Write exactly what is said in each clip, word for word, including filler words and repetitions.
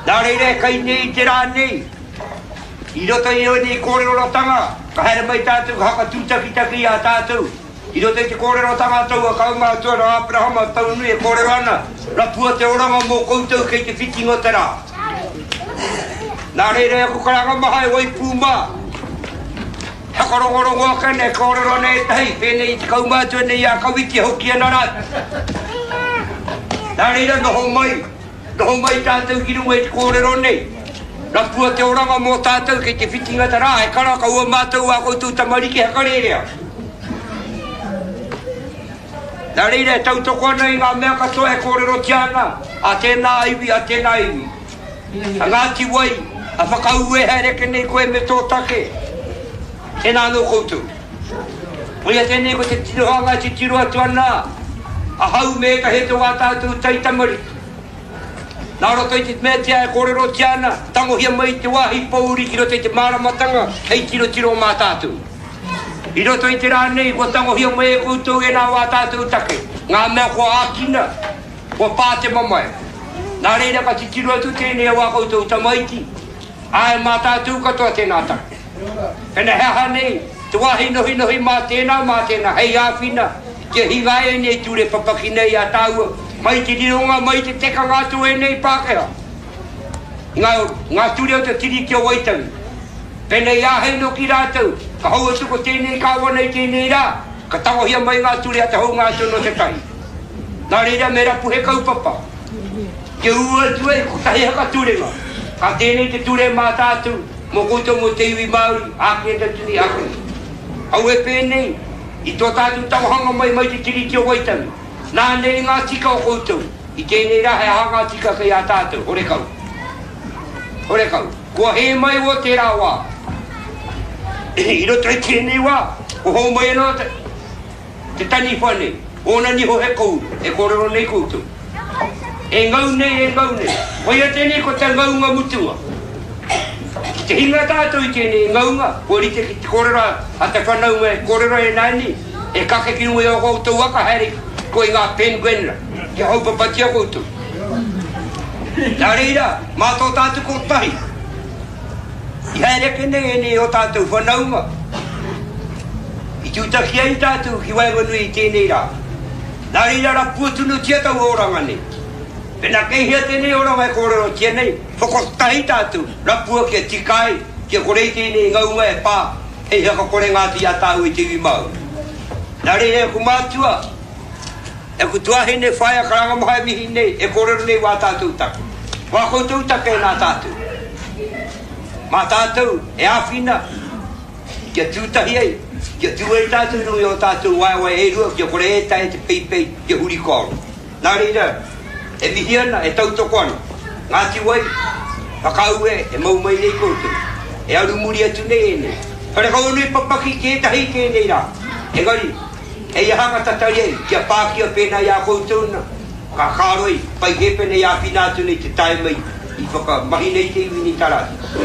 Nā reira e kai nei i te rā nei, i roto i ēnei kōrerorotanga, ka haere mai tātou ka hakatūtakitaki i a tātou. I roto i te kōrerotanga a taua kaumātua nā Aperahama Taunui e kōrero ana, rapua te oranga mō koutou kei te whitinga o te rā. Nā reira e aku karanga maha e waipū mā, hakarongorongo ake nei, kōrero ana ētahi, pēnei i te kaumātua nei i a Kawiti e hoki ana rātou. Nā reira noho mai, Noho mai tātou ki runga i te kōrero nei. Rapua te oranga mō tātou kei te whitinga te rā, e kara kaua mātou ā koutou tamariki hakarērea. Nā reira e tautoko ana i ngā mea katoa e kōrerotia ana a tēnā iwi, a tēnā iwi. A Ngāti Wai, a Whakaue haere ake nei koe me tō take. Tēnā anō koutou. Koia tēnei ko te tirohanga e titiro atu ana ahau me ētahi atu o ā tātou taitamariki. Nā roto i te meatia e kōrerotia ana, tangohia mai te wāhi pōuri ki roto i te māramatanga hei tirotiro mā tātou. I roto i te rā nei, kua tangohia mai e koutou ēnā o ā tātou take, ngā mea kua ākina, kua pā te mamae. Nā reira ka titiro atu tēnei o ā koutou tamaiti, āe mā tātou katoa tēnā take. Pena he aha nei te wāhi nohinohi mā tēnā, mā tēnā hei āwhina kia hinga ēnei ture papaki nei a tāua mai te rironga, mai te tekanga atu o ēnei Pākehā. Ngā, ngā ture o te Tiriti o Waitangi. Pēnei i āhei noki rātou, ka hou atu ko tēnei kāwana i tēnei rā, ka tangohia mai ngā ture a te hounga atu nō te tahi. Nā reira me rapu he kaupapa, kia ū atu ai kotahi haka turenga, ka tēnei te ture mā tātou, mō koutou mō te iwi Māori, ākene atu nei, ākene. Aue pēnei, i tō tātou tangohanga mai mai te Tiriti o Waitangi, nā nei ngā tika o koutou, i tēnei rā he aha ngā tika kei a tātou, horekau. Horekau. Kua hē mai wō tērā wā. I roto i tēnei wā, kua hou mai anō te, te taniwha nei, ōna niho he kouru, e kōrero nei koutou. E ngau nei, e ngau nei. Koia tēnei ko te ngaunga mutunga. Ki te hinga tātou i tēnei ngaunga, kua rite ki te kōrero a te whanaunga e kōrero e nāianei, e kake ki runga i ō koutou waka haere koe i ngā penguin ra, kia haupapatia koutou. Nā reira, mā tō tātou kotahi, i haere ake nei ēnei ō tātou whanaunga, i tūtaki ai tātou ki waenganui i tēnei rā. Nā reira rapua tunutia taua oranga nei. Pena kei hea tēnei oranga e kōrerotia nei, whakakotahi tātou, rapua kia tika ai, kia kore i tēnei ngaunga e pā hei whakakorenga atu i a tāua i te iwi Māori. Nā reira e aku mātua, e aku tuahine, whaea karanga maha e mihi nei, e kōrero nei wā tātou take. Wā koutou take nā tātou. Mā tātou e āwhina kia tū tahi ai, kia tū ai tātou i runga i ō tātou waewae e rua kia kore e taea te peipei kia huri kōaro. Nā reira, e mihi ana, e tautoko ana. Ngāti Wai, whakaue e mau mai nei koutou, e aru muri atu nei ēnei. Wharekau nui papaki ki ētahi i tēnei rā. Engari, hei aha ka tatari ai, kia pākia pēnā i a koutou na, ka kāroi, pai kē pēnei āwhina atu nei te tae mai i whakamahi nei te iwi nei tā rātou.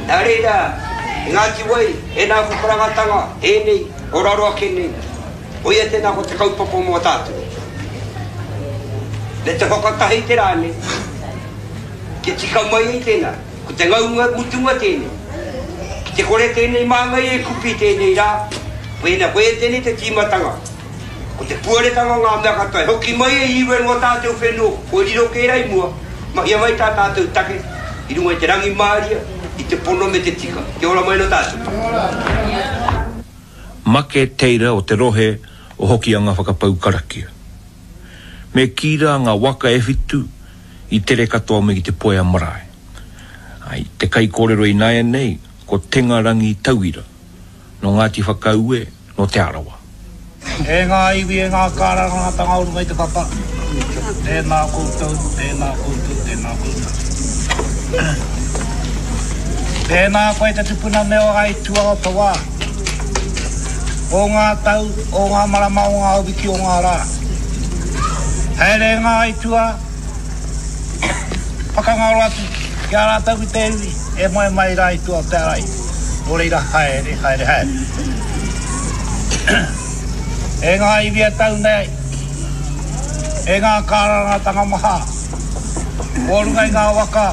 Nā reira, e Ngāti Wai, e nā whakarangatanga, ēnei, o raro ake nei, Koia tēnā ko te kaupapa mō tātou. Me te whakatahi te rā nei, kia tika mai ai tēnā, ko te ngaunga mutunga tēnei. Ki te kore tēnei māngai e kupi tēnei rā, koina koia tēnei te tīmatanga. Ko te puaretanga o ngā mea katoa, e hoki mai e Iwe ngō tātou whenua, kua riro kē rā i mua, mahia mai tā tātou take i runga i te rangimāria, i te pono me te tika. Kia ora mai nō tātou. Make Teira o te rohe o Hokianga whakapau karakia. Me kī rā ngā waka e whitu i tere katoa mai ki te Poea marae. I te kaikōrero ināianei ko Tenga Rangi Tauira, nō Ngāti Whakaue, nō Te Arawa. E ngā iwi, e ngā kārangatanga o runga i te papa, tēnā koutou, tēnā koutou, tēnā koutou. Tēnā koe te tupuna me o aituā o te wā, o ngā tau, o ngā marama, o ngā wiki, o ngā rā. Haere ngā aituā, whakangaro atu ki a rātou ki te iwi e moe mai rā i tua o te arai. Nō reira, haere, haere, haere. E ngā iwi e tau nei, e ngā kārangatanga maha, o runga i ngā waka,